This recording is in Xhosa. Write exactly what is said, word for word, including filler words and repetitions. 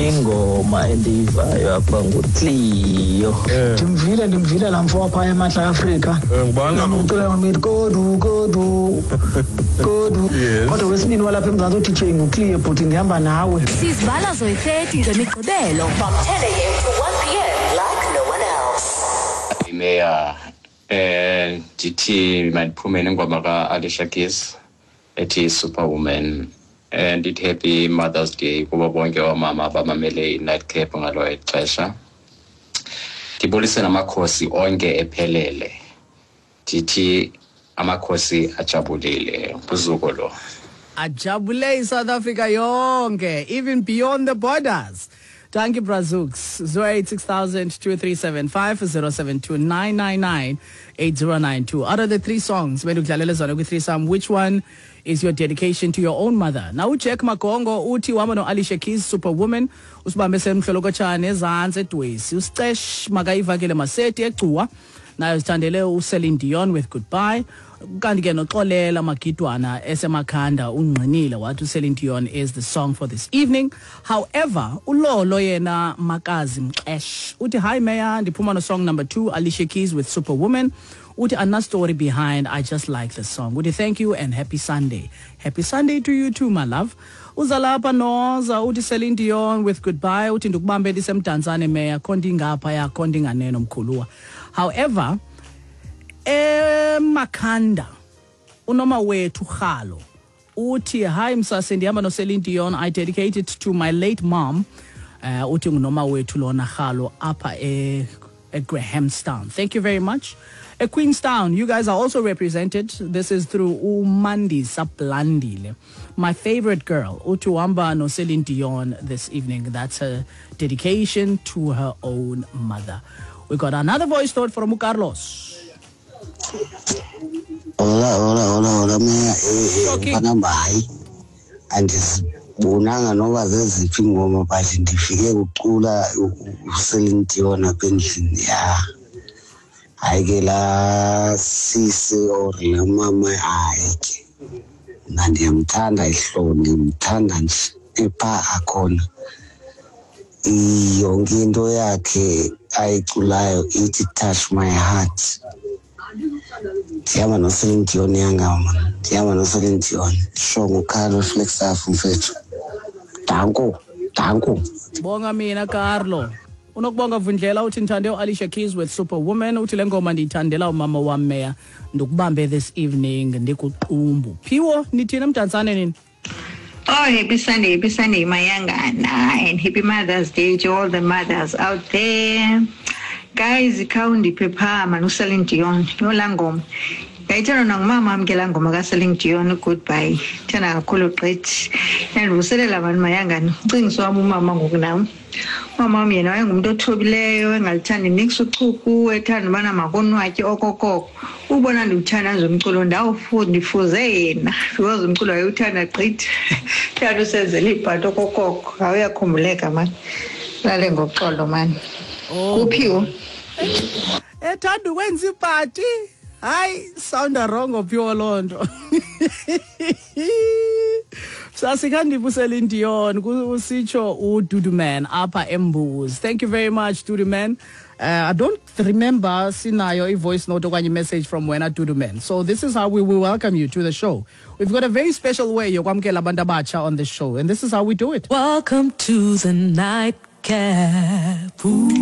Ingoma endiyivayo apha nguCleo. Ndimvile ndimvile laa mfo wapha eMantla Afrika. Ngubani? Ucula ngomiti kodu kodu kodu. Kodwa wesibini walapha eMzantsi u-D J nguCleo, bhuti, ndihamba nawe. Sizibala zoyi-thirty ngeMigqibelo from ten a m to one p m like no one else. Meya, eh ndithi mandiphume nengoma ka-Alicia Keys ethi Superwoman. eh ndithi happy Mother's Day kubo bonke oomama abamamele i-Nightcap ngalo ixesha. Ndibulise namakhosi onke ephelele, ndithi amakhosi ajabulile kuzuko lo. Ajabule iSouth Africa yonke, even beyond the borders. Thank you, Brazooks. zero eight six thousand two three seven five zero seven two nine nine nine eight zero nine two. Out of the three songs, bendikudlalela zona kwi-threesome, which one is your dedication to your own mother? Now uJack Magongo uthi uhamba no-Alicia Keys, Superwoman, usibambe semhlolokotshane ezantsi eDwesi. Usicesh makayivakele Maseti eGcuwa. Nayo sithandele uCeline Dion with Goodbye. Kanti ke noXolela Magidwana eseMakhanda ungqinile wathi uCeline Dion is the song for this evening. However, uLolo yena Makazi Mxesh uthi, "Hi Mayor, ndiphuma no song number two, Alicia Keys with Superwoman." Uthi ana story behind, I just like the song. Uthi thank you and happy Sunday. Happy Sunday to you too, my love. Uzalapha noza uthi Celine Dion with Goodbye. Uthi ndikubambe ndisemdantsane Mayor, khonto ingapha yakho ndinganeno mkhuluwa. However, eMakhanda unoma wethu Khalo uthi, "Hi msase, ndihamba noCeline Dion. I dedicate it to my late mom." uh, uthi ngunoma wethu lona Khalo apha e eGrahamstown. Thank you very much. Queenstown, you guys are also represented. This is through uMandisa Blandile. "My favorite girl," uthi uhamba noCeline Dion this evening. That's her dedication to her own mother. We got another voice note from Carlos. Hola, hola, hola, hola, Meya. Eh, eh, mfana, hayi. Andizibonanga noba zeziphi ingoma, but ndifike kucula uCeline Dion apha endlini. Ya. Hayi ke laa sisi or laa mama, hayi ke. Mna ndiyamthanda ihlobo, ndimthanda nje epha akhona. Yonke into yakhe ayiculayo ithi touch my heart. Ndihamba noCeline Dion yangama, ndihamba noCeline Dion. Sho nguCarlo Flagstaff, mfethu. Danko, danko. Bonga mina, Carlo. Unokubonga Vundlela uthi ndithande uAlicia Keys with Superwoman. Uthi le ngoma ndiyithandela umama wam Meya, ndikubambe this evening ndikuqumbu. Phiwo, nithini eMdantsane nini? Oh, happy Sunday, happy Sunday, Mayangana, and happy Mother's Day to all the mothers out there. Guys, khawundiphe phaa mani uCeline Dion, yho laa ngoma. Ndayithanda nangumama wam ke laa ngoma kaCeline Dion, Goodbye. Ndithanda kakhulu gqithi. Yandivuselela mani Mayangana. Ucingisa wam umama ngoku nam. Umama wam yena wayengumntu othobileyo, engalithandi niks uchuku, ethanda ubana makonwatye okokoko. Ubona ndiwuthanda nje umculo ndawufunda, ndifuze yena because umculo wayewuthanda gqithi. Thanda usenzela iibhato okokoko. Hayi, uyakhumbuleka mani. Lale ngoxolo mani. Kuphiwo. Ethanda ukwenza ipati. Hayi, sounda wrong Phiwo loo nto. Sasikhandipha uCeline Dion kusitsho uDuduman apha eMbuzi. Thank you very much, Duduman. Uh, I don't remember sinayo i-voice note okanye message from wena, Duduman. So this is how we will welcome you to the show. We've got a very special way yokwamkela abantu abatsha on the show, and this is how we do it. Welcome to the Nightcap. Ooh.